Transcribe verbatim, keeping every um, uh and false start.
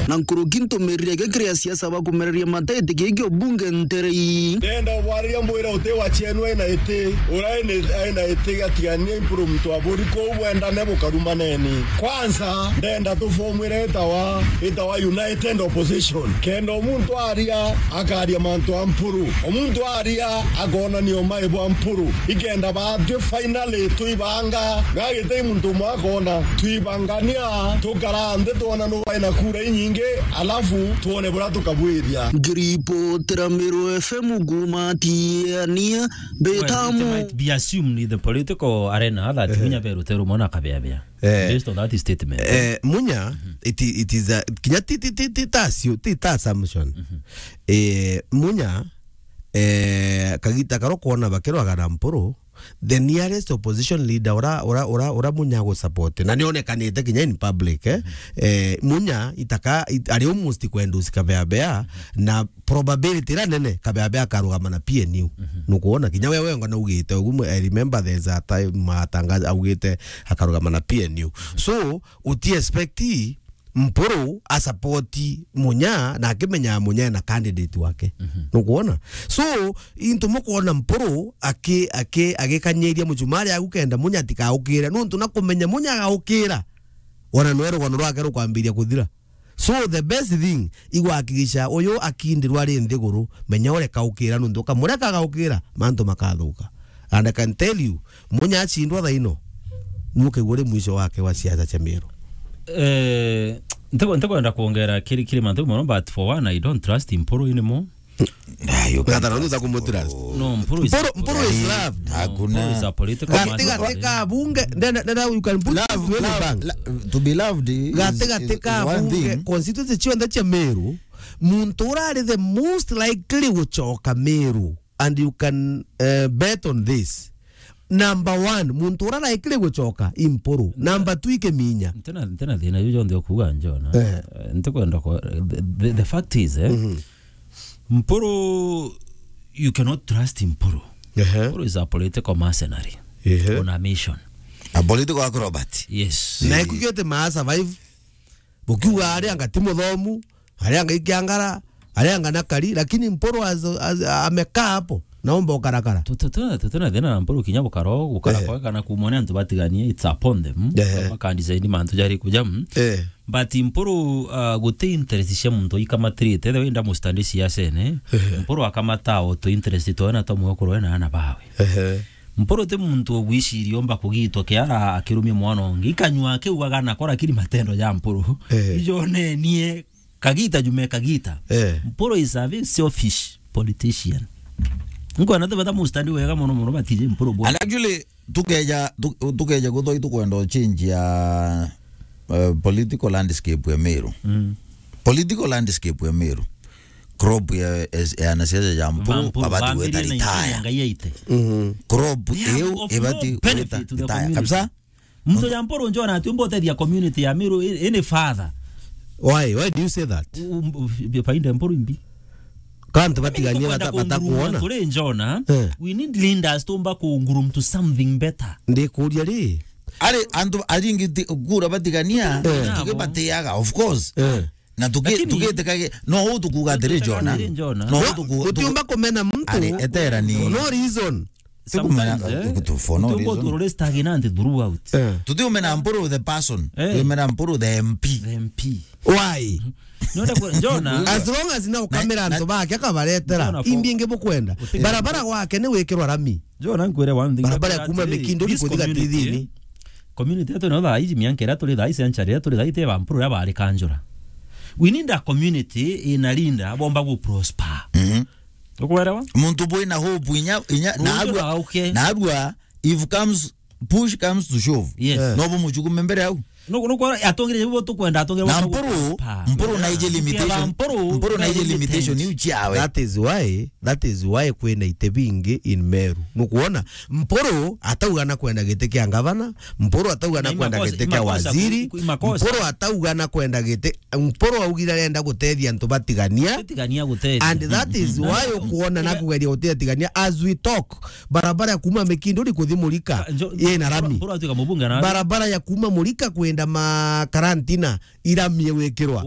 Na nkuruki ntumirire gikiri asiasa bakumereria mata iti giki ubunge nterei. Ndenda ubwariria mbwire uti wa chenu aina iti, ura aina iti gatigania impuru muntu aburi kuu bwendane bukarumaneni. Kwanza, ndenda tufomwire itawa, itawa United Opposition. Kenda omuntu aria, akaria mantu a mpuru. Omuntu aria, akonania umai bwa mpuru. Ikenda batwi finally twibanga. Gagitei muntu umwe akona. Twibangania, tukara nthi twona nu baina kura inyingi, alafu twone buria tukabwithia. Ngiripotera Meru F M kuuma Tiania, Mbetamu. Well, it might be assumed in the political arena that Munya Beru Teru mwana akabeabea. Eh. Based on that statement. Eh, Munya, it, it is a, kinya ti, ti, ti, ti ta assu-, ti ta assumption. Eh, Munya, eh, kagita karo kwona bakirwaga na mpuru, the nearest opposition leader ura, ura, ura, ura Munya agu support. Na nionekanite kinya in public, eh. Eh, Munya itaka, it, ari almost kwenda usika bea bea, na probability iria nene, Kabeabea akarugama na P N U. Nukwona, kinya we wenga naugite, ugu mwe-, I remember there's a time matangaza augite akarugama na P N U. So, uti expect Mpuru a support Munya na akimenya Munya na candidate wake. Nukwona? So, into mukwona Mpuru aki-, aki-, agikanyiria muchumari agu kenda Munya atikaukire. Nuntu na kumenya Munya agaukira, ona nwe rugano rwake rukwambiria kuthira. So the best thing, igwakikisha uyu akindirwa ari nthiguru, menya ureka ukira, nuntu ukamureka agaukira, mantu makathuka. And I can tell you, Munya achindwa thaino, nuke uri mwisho wake wa siasa cia Meru. Eh, ntikwenda kwongera kiri, kiri mantu mono, but for one, I don't trust Mpuru anymore. Ah, you can't Gatara, nduta trust kumutrust. Mpuru. No, Mpuru is Mpuru, Mpuru is loved. No, hakuna. Mpuru is a political man. Gati, gati ka bunge, then, then you can put love, love, bank. Lo-, to be loved is, gati, gati is ka one bunge, thing. Constituency cionthe cia Meru, muntu urari the most likely gucoka Meru, and you can, uh, bet on this. Number one, muntu ura likely gucoka i Mpuru. Number two i Kiminya. Ntena, ntena thina yu jonthe ukuga njona. Eh. Eh, ntikwenda ko-, the, the, the fact is, eh, Mpuru, you cannot trust Mpuru. Ehe. Mpuru is a political mercenary. Ehe. On a mission. A political acrobat. Yes. Na ikugite ma survive. Bukiuga ari anga ti muthomu, ari anga ikiangara, ari anga na kari, lakini Mpuru as, as, amekaa hapo, naomba ukarakara. Tutuna, tutuna thina na Mpuru kinya bukaro, gukara kwa kana kumone antu batiganie, it's upon them. Ehe. Baka design mantu jari kuja. Eh. But Mpuru, uh, guti interest cia muntu ikamatirite, the way nda mustandi siasene. Mpuru akamata o tu interest twawe na twa mwekuru we na ana bawe. Ehe. Mpuru ti muntu ugwiciria omba kugitwa kiara akirumia mwana ungi. Ikanyua akiugaga nako, lakini matendo ja Mpuru. Ehe. Ijonenie kagita jume kagita. Eh. Mpuru is a very selfish politician. Nkwona tubeta mustandi wega mono mono batije Mpuru bwa. And actually, tukeja, tu-, tukeja guthoi tukwenda change ya, eh, political landscape ya Meru. Mm. Political landscape ya Meru. Crop ya, ya, ya anasiasa ya Mpuru, Mpuru, babati gweta bambiririe na retire. Ngai aite. Mhm. Crop iu ibati gweta retire. Kabisa. Muntu ya Mpuru njona ati umba utethia community ya Meru, i-, ini father. Why? Why do you say that? U-, um, u-, faida Mpuru imbi. Kantu batiganie bata-, batakuona. Turi njona, eh, we need leaders tumba kunguru to something better. Ndikuria ri? Ari antu aringi ti-, kura batigania, eh, tuge batiaga, of course. Eh. Na tuki-, lakini tugitikage, no u tukuga atiri, Jona. No u tuku-, utiumba kumena muntu. Ari, eterani. For no reason. Sometimes, eh, for no reason. Tutaginante throughout. Eh. Tutiumena Mpuru the person. Eh. Tumena Mpuru the M P. The M P. Why? Nonde kwa, Jona. As long as na ukamira antu bake akabaretera. Imbi ingi bukwenda. Barabara gwake ni wikirwa rami. Jona nkwire one thing. Barabara ya kuma Mikinduri kuthi Gatithini. Community yetu no thaa iji, mianka iria turi thaa iji, century iria turi thaa iji, ti ba Mpuru iria bari kanjura. We need a community in a leader bomba gu prosper. Mhm. Ukuelewa? Muntu bwina hope inya, inya, na arua, na arua, if comes, push comes to shove. Yes. Eh. No bumuchukume mbere au. No, no, kwa atongire bo tukwenda, atongire na bo Mpuru, Mpuru na ije limitation. Mpuru na ije limitation iu chiawe. That is why, that is why kwina ite bingi in Meru. Nukuona? Mpuru atauga na kwenda giti kia ngavana, Mpuru atauga na kwenda giti kia waziri, Mpuru atauga na kwenda giti, Mpuru augire arenda gutethia antu batigania. Tigania gutethia. And that is why ukuona na kugeria gutia tigania. As we talk, barabara ya kuma Mikinduri kuthi Murika ina rami. Mpuru atuika mubunge na barabara ya kuma Murika kwenda Makarantina iramie gwikirwa.